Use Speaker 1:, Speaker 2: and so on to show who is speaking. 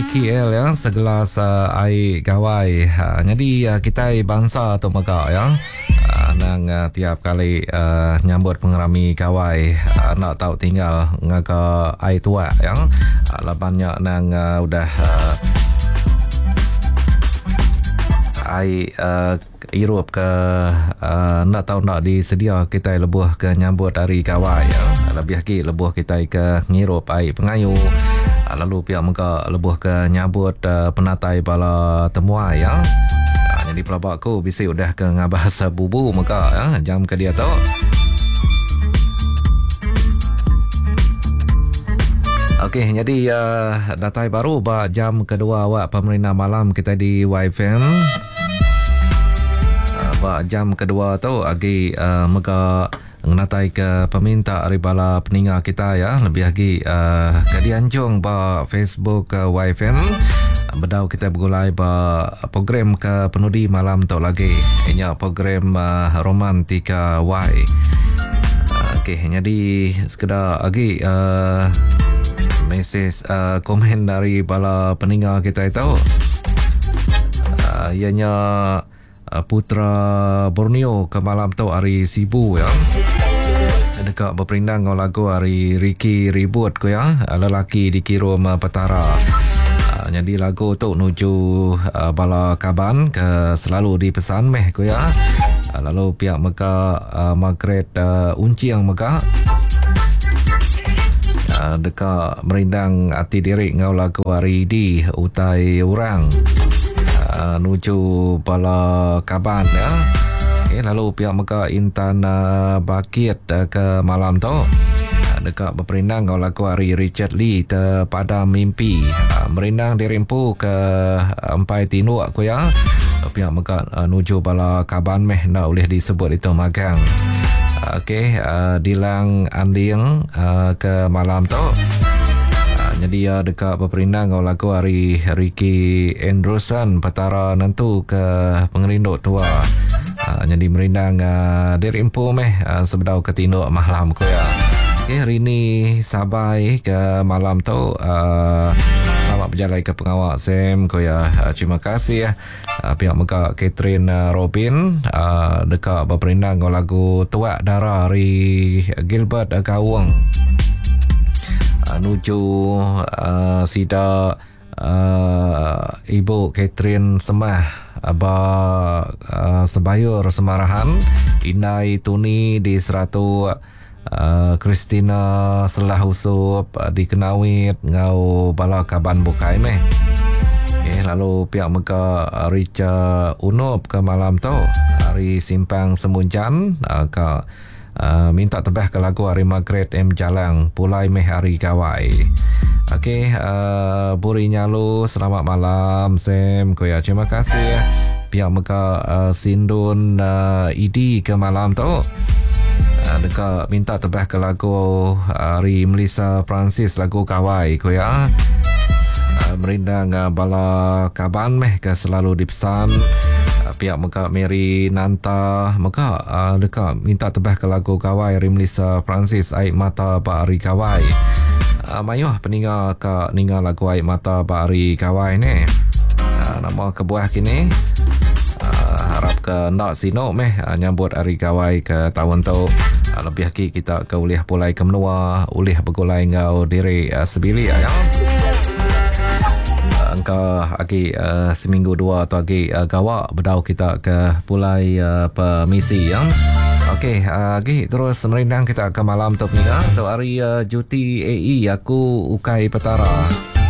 Speaker 1: KL ya segelas uh, ai gawai. Uh, jadi uh, kitai bansa tu mega ya. Uh, nang uh, tiap kali uh, nyambut pengerami gawai uh, enda tau tinggal ngaga ai tuak ya. Uh, laban nya nang uh, udah uh, ai uh, Irup ke enda tau enda disedia kitai lebuh ke nyambut hari gawai. Lebih agi lebuh kitai ke ngirup ai pengayu lalu pia mega lebuh ke nyambut penatai bala temuai. Nyadi pelaba aku bisi udah ke ngabas bubu mega jam ke diatu. Okey, nyadi datai baru ba jam kedua awak pemerindang malam kitai di YFM. Ba jam kedua tu agi uh, mega ngenatai ke peminta ari bala peninga kita ya lebih agi uh, ke dianjung ba Facebook uh, YFM bedau kita begulai ba program ke penudi malam tu lagi inya program uh, Romantika Y. Okey jadi sekeda agi uh, mesej uh, komen dari bala peninga kita itu uh, ianya uh, Putra Borneo ke malam tu hari Sibu ya. Deka beperindang ngau lagu hari Ricky Ribut ku ya, lelaki dikirum Petara. Uh, jadi lagu tu nuju uh, bala kaban ke selalu dipesan meh ku ya. Uh, lalu pihak mega uh, Margaret uh, Uncing mega uh, deka merindang ati diri enggau lagu hari di utai orang uh, nuju bala kaban ya. Okay, lalu pihak mega Intan uh, Bakit uh, ke malam tu uh, deka beperindang enggau lagu hari Richard Lee terpadam mimpi uh, merindang diri empu ke empai tinduk ku ya. Pihak mega uh, nuju bala kaban meh enda ulih disebut itu magang. Okey, uh, Dilang Anding uh, ke malam tu. Uh, jadi ia deka beperindang enggau lagu ari Ricky Andrewson Petara Nentu ke Pengerindu Tua. Uh, jadi merindang uh, diri empu meh uh, sebedau ke tinduk malam ku ya. Okey, hari ni sabai ke malam tu uh, selamat berjalai ke pengawa Sam ku ya. Uh, terima kasih. Uh, pihak mega Catherine uh, Robin uh, deka beperindang enggau lagu Tuak Dara ari Gilbert Gaung. Uh, nuju uh, sida uh, Ibu Catherine Semah ba uh, Sebayur Semarahan Indai Tuni di Seratuk uh, Christina Selah Usup uh, di Kenawit enggau bala kaban bukai meh. Okay, lalu pihak mega uh, Richard Unup ke malam tu hari Simpang Semunjan uh, ke uh, minta tebah ke lagu hari Margaret M Jalang pulai meh hari gawai. Okey, uh, Buri Nyalu selamat malam Sam koya. Terima kasih pihak mega uh, Sindun uh, ID ke malam tu. Uh, deka minta tebah ke lagu ari Melissa Francis lagu Gawai ku ya. Uh, merindang uh, bala kaban meh ke selalu dipesan. Uh, pihak mega Mary Nanta mega uh, deka minta tebah ke lagu Gawai ari Melissa Francis Ai Mata ba Hari Gawai. Uh, mayuh peninga ka ninga lagu Ai Mata ba Hari Gawai ni. Uh, nama kebuah kini? Uh, harap ke enda sinu meh uh, nyambut hari gawai ke taun tu. Uh, lebih agi kita ke ulih pulai ke menua, ulih begulai enggau diri uh, sebilik ya. Engka agi uh, seminggu dua atau agi uh, gawa bedau kita ke pulai uh, permisi ya. Okey, uh, agi terus merindang kita ke malam tu peninga. Tu hari uh, Juti AE aku ukai petara.